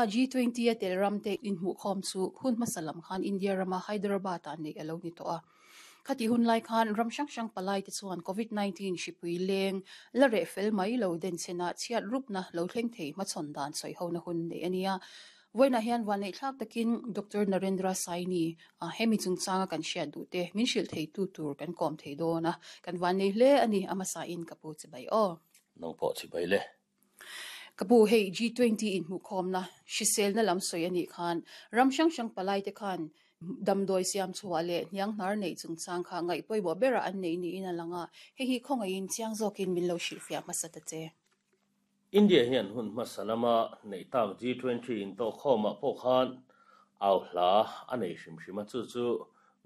G20 a tel ramte inhmuhkhawm chu hun hmasa lam khan India rama Hyderabad-ah neih a lo ni tawh a. Khatih hun lai khan ram hrang hrang palaite chuan Covid 19 hripui leng la reh fel mai lo denchhena chhiat rupna lo thleng thei hmachhawn dan sawihona hun neih a ni a. Vawiinah hian vanneihthlak takin Doctor Narendra Saini a hemi chungchanga kan hriat duh te min hrilh theitu tur kan kawm thei dawn a, kan vannei hle a ni a hmasain ka pu chibai aw. Nang pawh chibai le. Ka pu, hei G20 inhmuhkhawmna hriselna lam sawi a nih khan ram hrang hrang palaite khan damdawi siam chhuah leh hnianghnar neih chungchang kha ngaih pawimawh berah an nei niin a lang a, hei hi khawngaihin chiang zawkin min lo hrilhfiah hmasa ta che. India hian hun hmasa lama neih tak G20 intawhkhawmah pawh khan au hla a nei hrim hrim a, chu chu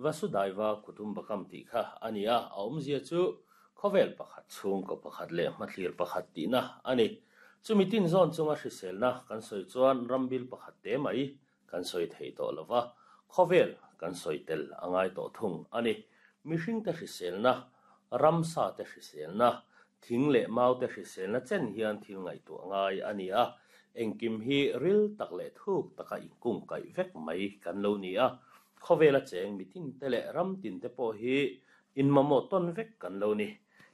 Vasudhaiva Kutumbakam tih kha a ni a, a awmzia chu khawvel pakhat, chhungkaw pakhat leh hmathlir pakhat tihna a ni. Chumi tin zawn chunga hriselna kan sawi chuan rambil pakhat te mai kan sawi thei tawh lo va, khawvel kan sawi tel a ngai tawh thung a ni. Mihringte hriselna, ramsate hriselna, thing leh maute hriselna chen hian thil ngaihtuah ngai a ni a, engkim hi ril tak leh thuk taka inkungkaih vek mai kan lo ni a. Khawvela cheng mitinte leh ram tinte pawh hi inmamawh tawn vek kan lo ni.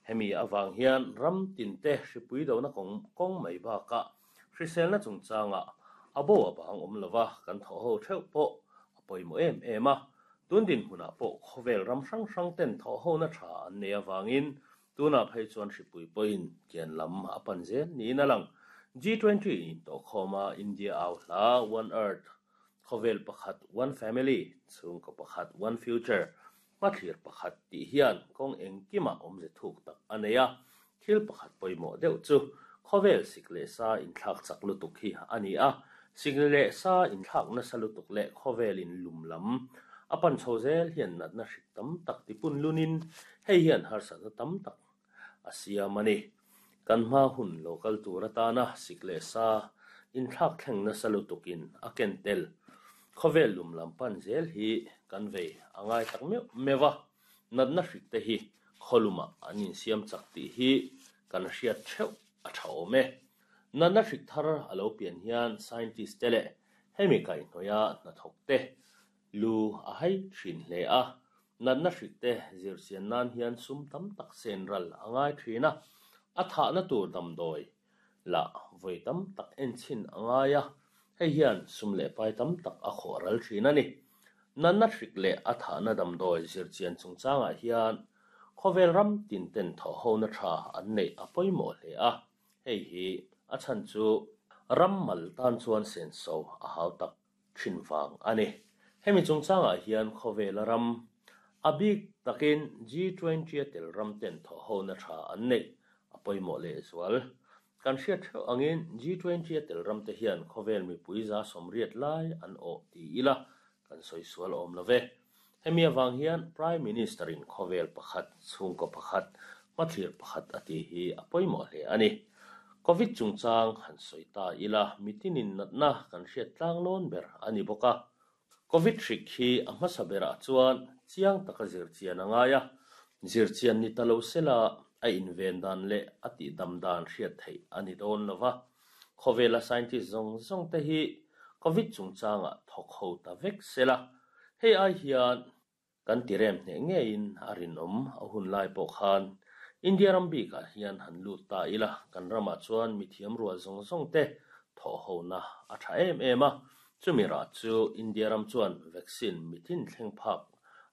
Hemi avang hian ram tinte hripui dona kawng kawng mai bakah hriselna chungchangah a bo a bang awm lova kan thawh ho theuh pawh a pawimawh em em a. Tun dinhmunah pawh khawvel ram hrang hrang ten thawh hona tha an nei avangin tunah phei chuan hripui pawhin kian lam a pan zel niin a lang. G20 intawhkhawma India au hla One Earth, Khawvel pakhat, One Family, chhungkaw pakhat, One Future, hmathlir pakhat tih hian kawng engkimah awmze thuk tak a nei a. Thil pakhat pawimawh deuh chu khawvel sik leh sa inthlak chak lutuk hi a ni a. Sik leh sa inthlak nasa lutuk leh khawvelin lum lam a pan chho zel hian natna hrik tam tak tipun lunin hei hian harsatna tam tak a siam a ni. Kan hma hun lo kal tur atana sik leh sa inthlak thleng nasa lutukin a ken tel. Khawvel lum lam pan zel hi kan vei a ngai tak meuh meuh a, natna hrik te hi khawlumah an insiam chak tih hi kan hriat theuh a tha awm e. Natna hrik thar a lo pian hian scientist te leh hemi kaihhnawih a hnathawk te Lu a hai thin hle a, natna hrik te zirchian nan hian sum tam tak sen ral a ngai thin a, a thahna tur damdawi lah vawi tam tak en chhin a ngai a, hei hian sum leh pai tam tak a khawh ral thin a ni. Natna hrik leh a thahna damdawi zirchian chungchangah hian khawvel ram tin ten thawhhona tha an neih a pawimawh hle a, hei hi a chhan chu ram mal tan chuan senso a hau tak thin vang a ni. Hemi chungchangah hian khawvela ram, a bik takin G20 a tel ram ten thawhhona tha an neih a pawimawh lehzual. Kan hriat theuh angin G20 a tel ram te hian khawvel mipui 80% lai an awh ti ila kan sawi sual awm lo ve. Hemi avang hian Prime Minister in khawvel pakhat, chhungkaw pakhat, hmathlir pakhat a tih hi a pawimawh hle a ni. Covid chungchang han sawi ta ila mitinin natna kan hriat tlang lawn ber a ni bawk a. Covid hrik hi a hmasa berah chuan chiang taka zirchian a ngai a, zirchian ni ta lo sela a inven dan leh a tihdam dan hriat theih a ni dawn lo va. Khawvela scientist zawng zawng te hi Covid chungchangah thawk ho ta vek sela, hei ai hian kan ti rem hneh ngeiin a rinawm a hun lai pawh khan India ram bikah hian han lut ta ila kan ramah chuan mithiam rual zawng zawng te thawh hona a tha em em a, chumi rah chu India ram chuan vaccine mithin thleng phak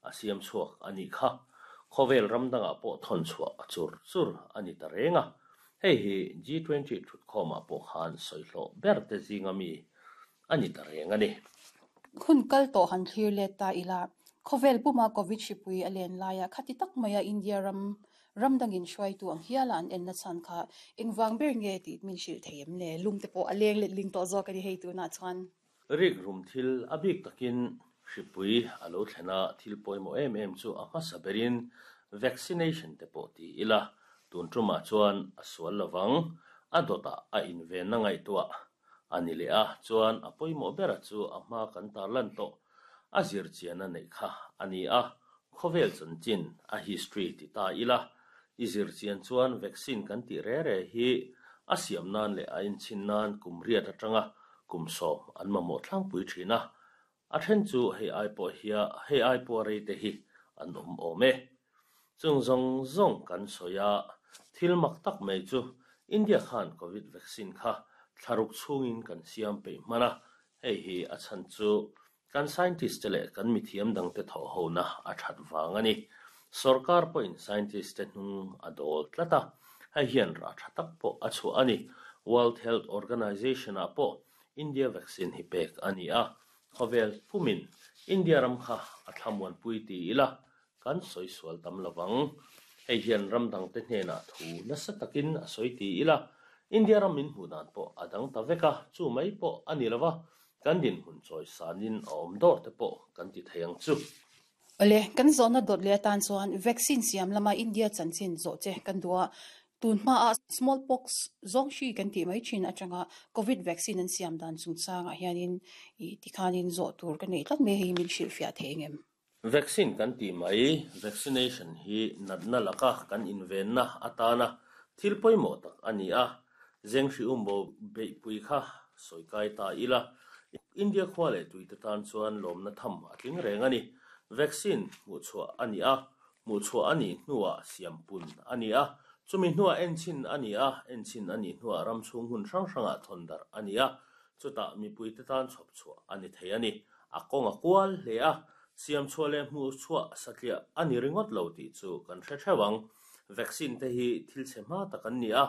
a siam chhuak a nih kha. Khawvel ram dangah pawh thawn chhuah a chur chur a ni ta reng a. Hei hi G20 thutkhawmah pawh khan sawihlawh ber te zinga mi a ni ta reng a ni. Hun kal tawh han thlir let ta ila, khawvel puma Covid hripui a len laia khati tak maia India ram ram dangin hruaitu ang hiala an enna chhan kha engvang ber nge tih min hrilh thei em le? Lung te pawh a leng let ling tawh zawk a ni hei tunah chuan. Rik rum thil a bik takin hripui a lo thlen a, thil pawimawh em em chu a hmasa berin vaccination te pawh ti ila, tun tumah chuan a sual lovang, a dawtah a invenna ngaihtuah a ni leh a, chuan a pawimawh bera chu a hma kan tarlan tawh a zirchian a neih kha a ni a, khawvel chanchin a history ti ta ila, i zirchian chuan vaccine kan tih re re hi a siam nan leh a inchhin nan kum riat atanga. kum sawm an mamawh tlangpui thin a, a then chu hei ai pawh hia hei ai pawh rei te hi an awm awm e. Chung zawng zawng kan sawi a, thil mak tak mai chu India khan Covid vaccine kha thlaruk chhungin kan siam peih hman a, hei hi a chhan chu Kan scientist te leh kan mithiam dangte thawh hona a that vang a ni. Sorkar pawhin scientist te hnung a dawl tlat a, hei hian rah tha tak pawh a chhuah a ni. World Health Organization ah pawh India vaccine hi pek a ni a, khawvel pumin India ram kha a thlamuanpui ti ila kan sawi sual tam lo vang. Hei hian ram dangte hnenah thu nasa takin a sawi ti ila, India ram min hmuh dan pawh a dang ta vek a, chu mai pawh a ni lo va, kan dinhmun chawi sanin a awm dawr te pawh kan ti thei ang chu. Awle, kan zawhna dawt leh atan chuan vaccine siam lama India chanchin zawh che kan duh a, tun hmaah smallpox zawng hri kan tih mai thin atanga covid vaccine an siam dan chungchangah hianin ih tikhanin zawh tur ka neih tlat mai hei min hrilhfiah thei engem? Vaccine kan tih mai, vaccination, hi natna laka kan invenna atana thil pawimawh tak a ni a, Zenghri umbo beihpui kha sawi kai ta ila, India khua leh tuite tan chuan lawmna tham a tling reng a ni. Vaccine hmuhchhuah a ni a, hmuhchhuah a nih hnuah siampun a ni a, chumi hnuah enchhin a ni a, enchhin a nih hnuah ram chhung hmun hrang hrangah thawn darh a ni a, chutah mipuite tan chhawpchhuah a ni thei a ni. A kawng a kual hle a, siam chhuah leh hmuh chhuah satliah a ni ringawt lo tih chu kan hre theuh ang. Vaccine te hi thil chhe hma tak an ni a,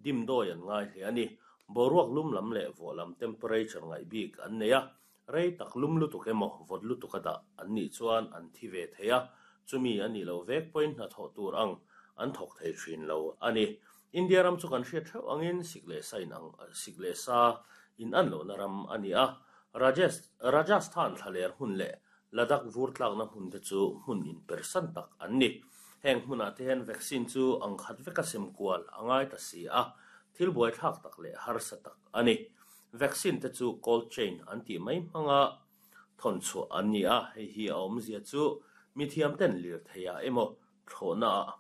dimdawi an ngai hle a ni. Boruak lum lam leh vawh lam temperature ngaih bik an nei a, rei tak lum lutuk emaw vawt lutuk a dah an nih chuan an thi ve thei a, chumi a nih loh vek pawhin hnathawh tur ang an thawk thei thin lo a ni. India ram chu kan hriat theuh angin sik leh sa in ang sik leh sa in an lohna ram a ni a, Rajesh Rajasthan thlaler hmun leh Ladakh vur tlakna hmun te chu hmun inpersan tak an ni. Heng hmunah te hian vaccine chu ang khat veka sem kual a ngai ta si a, thil buaithlak tak leh harsa tak a ni. Vaccine te chu cold chain an tih mai hmanga thawn chhuah an ni a, hei hi a awmzia chu mithiam ten lirtheiah emaw thlawhnaah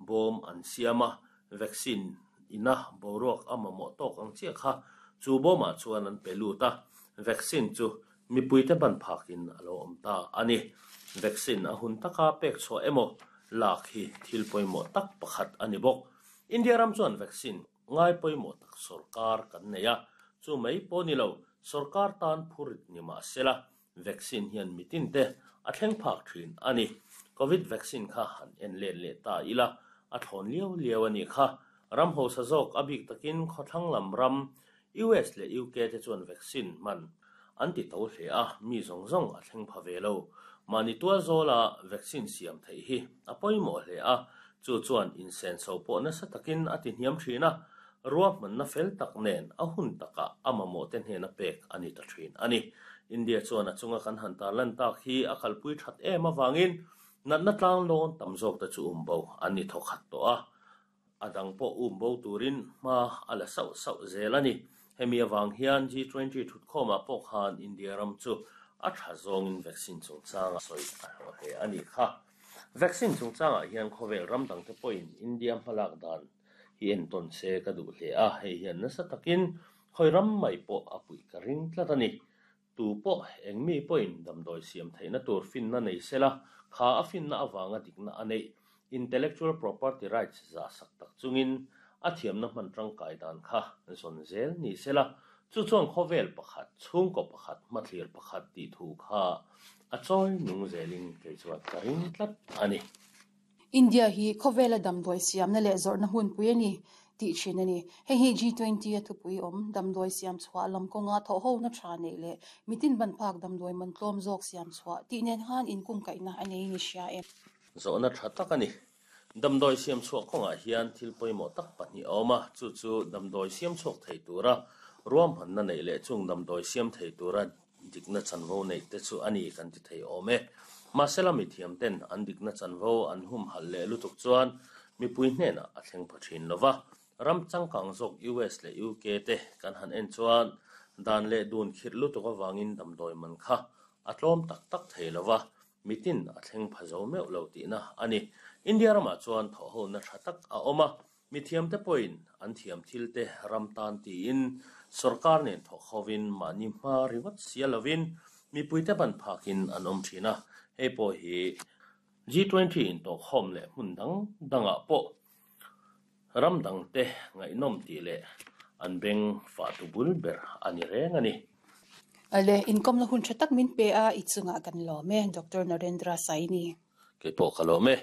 Bawm an siam a, vaccine ina boruak a mamawh tawk ang chiah kha chu bawmah chuan an pe lut a, vaccine chu mipuite ban phakin a lo awm ta a ni. Vaccine a hun taka pek chhuah emaw lak hi thil pawimawh tak pakhat a ni bawk. India ram chuan vaccine ngai pawimawh tak sorkar kan nei a, chu mai pawh ni lo, sorkar tan phurit ni mah sela Vaccine hian mitin te a thleng phak thin a ni. Covid vaccine kha han en let leh ta ila, a thlawn liau liau a nih kha. Ram hausa zawk a bik takin khawthlang lam ram US leh UK te chuan vaccine hman an ti to hle a, mi zawng zawng a thleng pha ve lo. Mahni tual zawla vaccine siam theih hi a pawimawh hle a, chu chuan insenso pawh nasa takin a ti hniam thin a, Ruahmanna fel tak nen a hun takah a mamawhte hnena pek a ni ta thin a ni. India chuan a chunga kan han tarlan tak hi a kalpui that em avangin natna tlang lawn tam zawkte chu um bo an ni thawkhat tawh a, a dang pawh um bo turin hma a la sauh sauh zel a ni. Hemi avang hian G20 thutkhawmah pawh khan India ram chu a tha zawngin vaccine chungchanga sawi a hlawh hle a nih kha. Vaccine chungchangah hian khawvel ram dangte pawhin India hmalak dan hi entawn se ka duh hle a, hei hian nasa takin khawi ram mai pawh a puih ka ring tlat a ni. Tu pawh eng mi pawhin damdawi siam theihna tur finna nei sela, kha a finna avanga dikna a neih, intellectual property rights zah sak tak chungin a thiamna hman tangkai dan kha zawn zel ni sela, chu chuan khawvel pakhat, chhungkaw pakhat, hmathlir pakhat tih thu kha a chawi nung zelin kei chuan ka ring tlat a ni. India hi khawvela damdawi siamna leh zawrhna hmunpui a ni tih thin a ni. Hei hi G20 a thupui awm, damdawi siam chhuah lam kawnga thawhhona tha neih leh mitin ban phak damdawi man tlawm zawk siam chhuah tih nen khan inkungkaihna a nei ni hria em? Zawhna tha tak a ni. Damdawi siam chhuah kawngah hian thil pawimawh tak pahnih a awm a, chu chu damdawi siam chhuak thei tura ruahmanna neih leh chung damdawi siam thei tura Dikna chanvo neih te chu a ni kan ti thei awm e. Mahsela mithiam ten an dikna chanvo an humhalh leh lutuk chuan mipui hnenah a thleng pha thin lo va. Ram changkang zawk US leh UK te kan han en chuan dan leh dun khirh lutuk avangin damdawi man kha a tlawm tak tak thei lo va, mitin a thleng pha zo meuh lo tihna a ni. India ramah chuan thawhhona tha tak a awm a. Mithiamte pawhin an thiam thilte ram tan tiin sorkar nen thawk hovin mahni hma ringawt sia lovin mipuite ban phakin an awm thin a, hei pawh hi G20 intawhkhawm leh hmun dang dangah pawh ram dangte ngaihnawm tih leh an beng fahtu bul ber a ni reng a ni. Ale, inkawmna hun tha tak min pe a, i chungah kan lawm e, Doctor Narendra Saini. Kei pawh ka lawm e.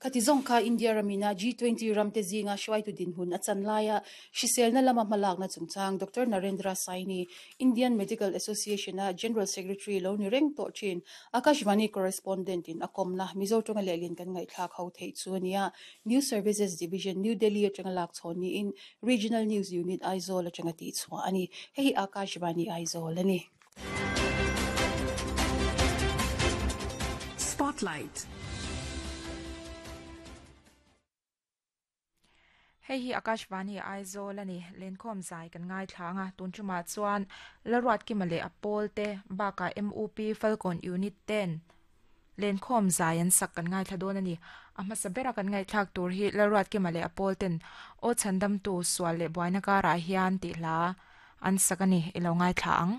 Khati zawng kha India ramina G20 ramte zinga hruaitu dinhmun a chan laia hriselna lama hmalakna chungchang Doctor Narendra Saini, Indian Medical Association-a General Secretary lo ni reng tawh thin, Akashvani Correspondent-in a kawmna Mizo tawnga lehlin kan ngaihthlak ho theih chu a ni a. News Services Division, New Delhi atanga lak chhawn niin Regional News Unit, Aizawl atanga tihchhuah a ni. Hei hi Akashvani Aizawl a ni. Spotlight. Hei hi Akashvani Aizawl a ni. Lenkhawm zai kan ngaithla ang a, tun tumah chuan Lalruatkima leh a pawl te bakah MUP Falkawn Unit ten Lenkhawm zai an sak kan ngaithla dawn a ni. A hmasa bera kan ngaihthlak tur hi Lalruatkima leh a pawl ten Aw Chhandamtu sual leh buaina karah hian tih hla an sak a ni, i lo ngaithla ang.